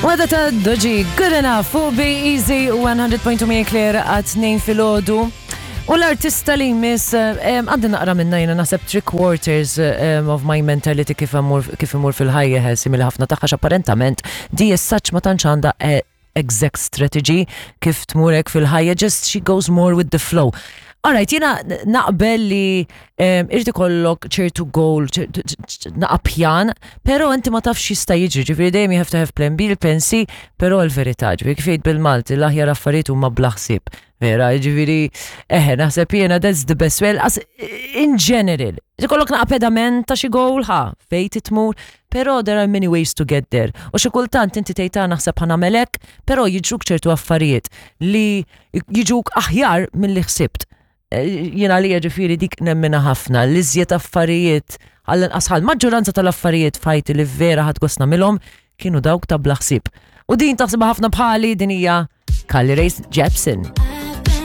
Wada ta' Doġi, good enough, fuq Be Easy 100.2 Mia Claire għat 2 filgħodu. U l-artista li jmiss, għandi naqra minna jena naħseb three quarters of my mentality kif imur fil-ħajja simili ħafna tagħha apparentament di as such ma tantx għandha eh, exact strategy kif tmurek fil-ħajja, just she goes more with the flow. Alright, jena naqbel li irrid ikollok ċertu goal, naqa pjan, pero inti ma tafx jista' jiġri, ġifieri dejjem you have to have plan B, plan C, pero l-verità, ġifieri kif jgħid bil-Malti, l-aħjar affarijiet huma bla ħsieb. Vera, ġifieri, eħe, naħseb jiena that's the best way, as in general. Ikollok naqa pedament ta' xi goal ħa, fejn titmur, pero there are many ways to get there. U xi kultant inti tgħid ah, naħseb ħa nagħmel hekk, pero jiġruk ċertu affarijiet li jiġuk aħjar milli ħsibt. Eh, jiena li ġifieri dik nemmina ħafna, l-iżjed affarijiet għall-inqas ħal maġġoranza tal-affarijiet fajti li vera ħadd gost nagħmilhom kienu dawk ta' bla ħsieb. U din taħsibha ħafna bħali din hija Carly Rae Jepsen.